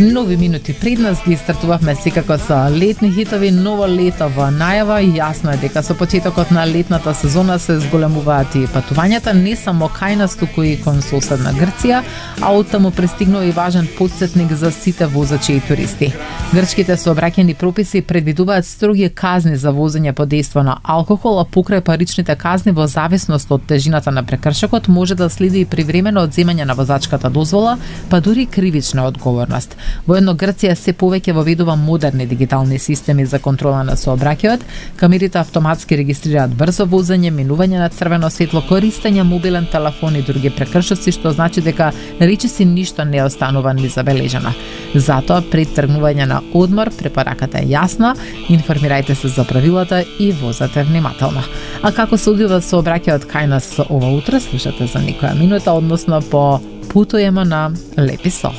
Нови минути пред нас ги стартувавме секако со летни хитови, ново лето во најава. Јасно е дека со почетокот на летната сезона се зголемуваат и патувањата не само кај нас, туку и кон соседна Грција, а оттаму пристигнува и важен потсетник за сите возачи и туристи. Грчките сообраќајни прописи предвидуваат строги казни за возење под дејство на алкохол, а покрај паричните казни во зависност од тежината на прекршокот може да следи и привремено одземање на возачката дозвола, па дури кривична одговорност. Воедно Грција се повеќе воведува модерни дигитални системи за контрола на сообраќајот, камерите автоматски регистрираат брзо возење, минување на црвено светло, користење мобилен телефон и други прекршоци, што значи дека речиси ништо не останува незабележано. Затоа пред тргнување на одмор препораката е јасна: информирајте се за правилата и возете внимателно. А како се одвива сообраќајот кај нас ова утро, слушате за некоја минута, односно по путуваме на Лепи Сол.